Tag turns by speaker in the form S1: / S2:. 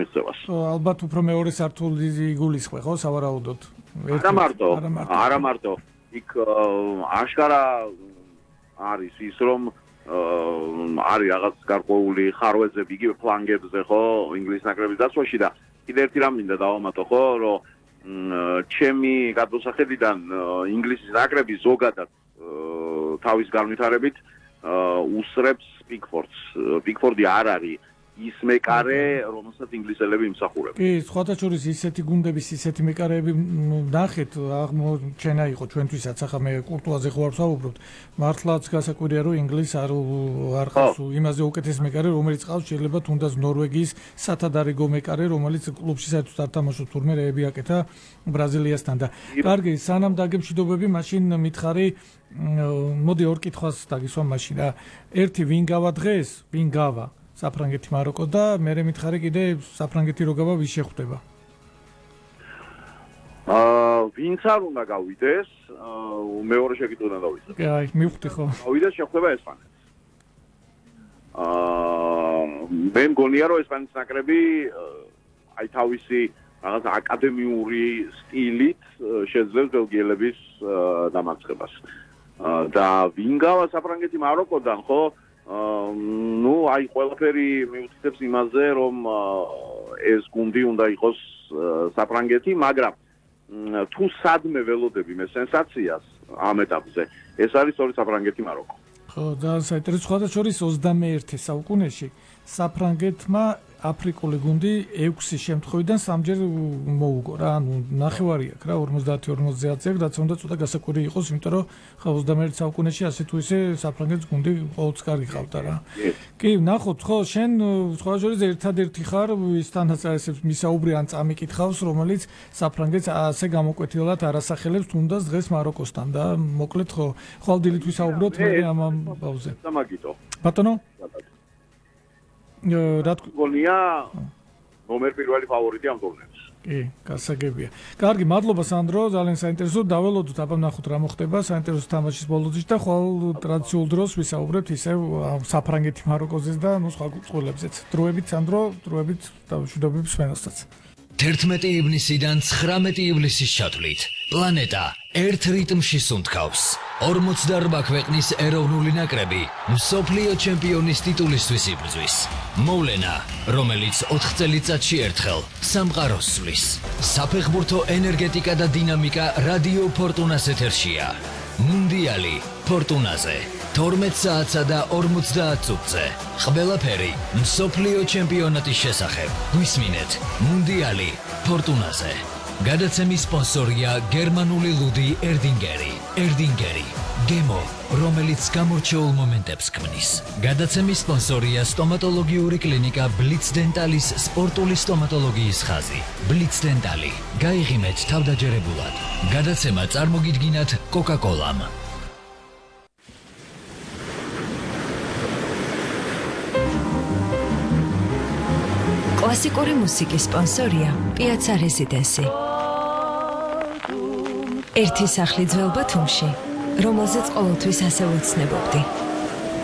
S1: მიღწევას.
S2: ალბათ უფრო მეორე სართული იგულისხმე, ხო, სავარაუდოდ.
S1: არა მარტო. იქ აშკარა არის ის რომ არის რაღაც გარკვეული ხარვეზები იგივე ფლანგებზე ხო ინგლისის ნაკრების დაცვაში და კიდევ ერთი რამ მინდა დავამატო ხო რომ ჩემი გადმოსახედიდან ინგლისის ნაკრები ზოგადად თავის განვითარებით უსწრებს პიკფორდს. პიკფორდი არ არის ის მეკარე, რომელსაც ინგლისელები იმსახურებენ.
S2: კი, სხვათა შორის ისეთი გუნდების, ისეთი მეკარეები ნახეთ, აღმოჩენა იყო ჩვენთვისაც, ახლა მე კურტუაზე ხო არ ვსაუბრობთ. მართლაც გასაკვირია, რომ ინგლისს არ ყავს იმაზე უკეთეს მეკარე, რომელიც ყავს შეიძლება თუნდაც ნორვეგიის სათადარიგო მეკარე, რომელიც კლუბში საერთოდ არ თამაშობს, თურმე რეები აკეთა ბრაზილიასთან და კარგი, სანამ დაგემშვიდობები, მაშინ მითხარი, მოდი ორ კითხვას დაგისვამ მაშინ რა. ერთი ვინ გავა დღეს, ვინ გავა? საფრანგეთი მაროკო და მე მითხარი კიდე საფრანგეთი რო გავა ვის შეხვდება?
S1: ვინც არ უნდა გავიდეს, მეორე შეკითხვიდან დავიწყებ.
S2: კი, აი, მივხვდი ხო.
S1: გავიდეს შეხვდება ესპანეთს. მე მგონია რომ ესპანეთის ნაკრები აი თავისი რაღაც აკადემიური სტილით შეძლებს ბელგიელების დამარცხებას. და ვინ გავა საფრანგეთი მაროკოდან ხო? ნუ აი ყველაფერი მიუთითებს იმაზე რომ ეს გუნდი უნდა იყოს საფრანგეთი, მაგრამ თუ სადმე ველოდები მე სენსაციას ამ ეტაპზე, ეს არის სწორედ საფრანგეთი მაროკო.
S2: ხო, და საინტერესო სხვათა შორის 21 საუკუნეში საფრანგეთმა აფრიკული გუნდი 6 შემთხვევიდან 3ჯერ მოუგო რა, ანუ ნახევარი აქვს რა 50-50 აქვს, რაც უნდა ცოტა გასაკვირი იყოს, იმიტომ რომ ხა 21 საუკუნეში ასე თუ ისე საფრანგეთის გუნდი ყოველთვის კარგი ყავდა რა. კი, ნახოთ, ხო, შენ სხვა შორის ერთადერთი ხარ ისთანაც ასებს მისაუბრი ან წამიკითხავს, რომელიც საფრანგეთს ასე გამოკვეთილად არასახელებს თუნდაც დღეს მაროკოსთან და მოკლედ ხო, ხვალდილით ვისაუბროთ მე ამ ამბავზე.
S1: დამაგიტო.
S2: ბატონო?
S1: რა თქონია ნომერ პირველი ფავორიტი ამ ტურნირში.
S2: კი, გასაგებია. კარგი, მადლობა სანდრო, ძალიან საინტერესო. დაველოდოთ, აბა ნახოთ რა მოხდება საინტერესო თამაშის ბოლოდში და ხვალ ტრადიციულ დროს ვისაუბრებთ ისევ საფრანგეთი მაროკოზეც და ნუ სხვა წყვილებზეც. დროებით სანდრო, დროებით დავშვიდობებს სვენოსთაც.
S3: 11 ივნისიდან 19 ივლისის ჩათვლით პლანეტა ერთ რიტმში სუნთქავს. 48 ქვეყნის ეროვნული ნაკრები მსოფლიო ჩემპიონის ტიტულისთვის იბრძვის. მოვლენა, რომელიც 4 წელიწადში ერთხელ სამყაროს სვლის. საფეხბურთო ენერგეტიკა და დინამიკა რადიო ფორტუნას ეთერშია. მუნდიალი ფორტუნაზე 12 საათსა და 50 წუთზე. ყველაფერი მსოფლიო ჩემპიონატის შესახებ. გვისმინეთ მუნდიალი ფორტუნაზე. გადაცემის სპონსორია გერმანული ლუდი ერდინგერი. ერდინგერი გემო, რომელიც გამორჩეულ მომენტებს ქმნის. გადაცემის სპონსორია სტომატოლოგიური კლინიკა ბლიც დენტალის სპორტული სტომატოლოგიის ხაზი. ბლიც დენტალი. გაიღიმეთ თავდაჯერებულად. გადაცემა წარმოგიდგინათ კოკა-კოლამ.
S4: კლასიკური მუსიკის სპონსორია პიაცა რეზიდენსი. ერთი სახლი ძველ ბათუმში, რომელზეც ყოველთვის ასე ვეცნებობდი.